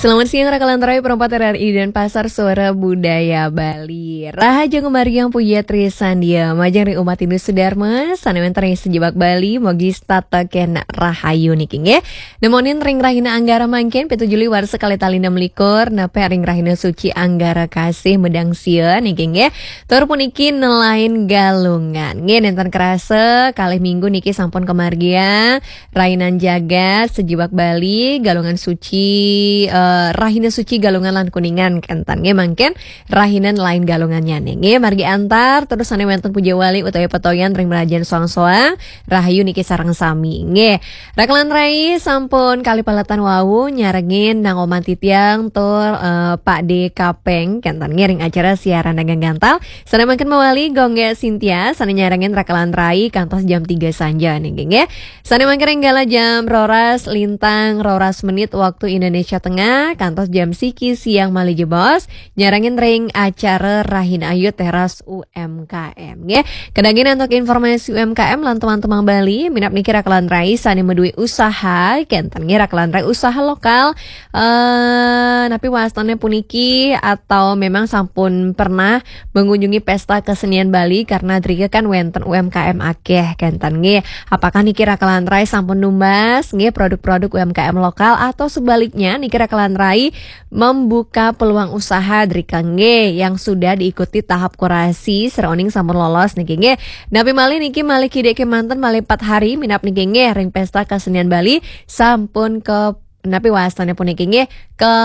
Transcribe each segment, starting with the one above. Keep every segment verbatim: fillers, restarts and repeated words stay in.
Selamat siang, Rakalan Rai, perempat R R I Denpasar, Suara Budaya Bali. Rahajeng margi Puja Trisandia, majeng ring umat Hindu sedharma, sane wenten ring sajebag Bali, mogi setata kena rahayu niki nggih. Nemonin ring rahina Anggara mangkin, pitu Juli warsa kalih tali enam likur, nepi ring rahina suci Anggara Kasih Medang Sia niki nggih. Tur puniki nelain Galungan. Nggih, nenten kerasa, kalih minggu niki sampun kamargiang, Rainan Jagat, sajebag Bali, Galungan Suci, eh, Rahina Suci Galungan lan Kuningan kenten. Nggih, mangkin rahina nelain Galungannyane. Nggih, margi antar, terus sane wenten puja wali utawi petoyan ring mrajan soang-soang, rahayu niki sareng sami. Nggih, Rakalan Rai sampun kalih paletan wau nyarengin Nang Oman Titiang tur, eh, Pak D Kapeng kenten nggih ring acara siaran dagang gantal. Sane mangkin mawali Gongge Sintia, sane nyarengin Rakalan Rai kantos jam tiga sanja niki nggih. Sane mangkin ring galah jam roras lintang roras menit waktu Indonesia Tengah, kantos jam siki siang malih jebos, nyarengin ring acara Rahina Ayu Teras U M K M nggih. Kedangin antuk informasi U M K M lan teman-teman Bali, minab niki Rakalan Rai sane madue usaha, kenten nggih Rakalan Rai usaha lokal, eh, napi wastane puniki atau memang sampun pernah mengunjungi pesta kesenian Bali karena drika kan wenten U M K M akeh kenten nggih. Apakah niki Rakalan Rai sampun numbas nggih produk-produk U M K M lokal atau sebaliknya niki Rakalan Rai membuka peluang usaha drika nggih yang sudah diikuti tahap kurasi seroning sampun lolos niki nggih. Napi malih niki malih kidik kemanten malih empat hari minab niki nggih ring pesta kesenian Bali sampun ke napi wastane puniki nggih ke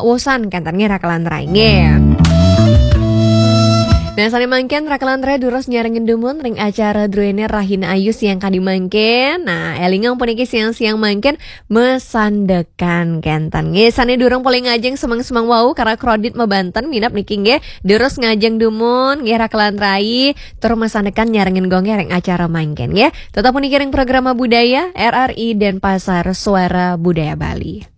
usan kenten nggih Rakalan Rai nggih. Nah, sane mangkin Rakalan Rai durus nyarengin dumun ring acara druene Rahina Ayu siang kadi mangkin. Nah, elingang puniki siang-siang mangkin mesandekan kenten nggih. Sane durung polih ngajeng semeng-semeng wau karena kredit mabanten minab niki nggih. Durus ngajeng dumun nggih Rakalan Rai tur mesandekan nyarengin Gongge ring acara mangkin nggih. Tetap puniki ring programa budaya R R I Denpasar Suara Budaya Bali.